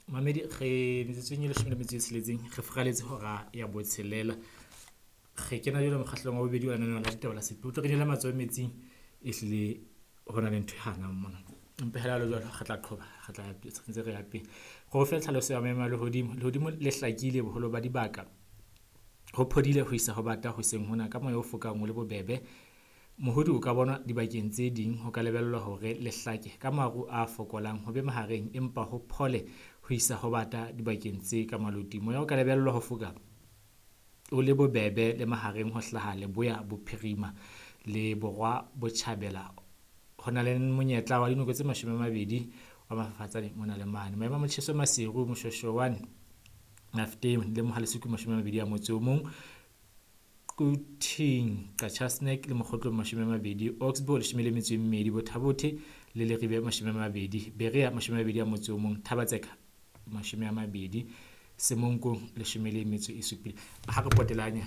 Mamedi re metsotsong e 16 re furaletse hora ya botshelela. Re kena jwale mokgahlelong wa bobedi wa lenaneo la ditaba la Setlotlo. Re nele matsoho metsing, ehlile ho na le ntho e hanang mona. Empa hela le jwalo re tla qhoba, re tla ntse re ya pele. Re o fe tlhaloso ya maemo a lehodimo. Lehodimo le hlakile boholo ba dibaka. Ho phodile ho isa ho bata hoseng hona ka moya o fokang o le bobebe. Mohodi o ka bonwa dibakeng tse ding ho ka lebellwa hore le hlake ka maru a fokolang ho be mahareng empa ho phole ho isa ho bata dibakeng tse ka maloting. Moya o ka lebellwa ho foka o le bobebe le mahareng ho hlaha leboya bophirima le borwa botjhabela. Ho na le monyetla wa dinoko tse 20 wa mafafatsane mona le mane. Maemo a motjheso Maseru, Moshoeshoe 1, Mafeteng le Mohale'Seke 21. Quthing, Qacha's Nek le Mokgotlong 20, Oxbow 12, Botha-Bothe le Leribe 20, Berea 21, Thaba-Tseka 20, Semonkong 17. Ha re potelanya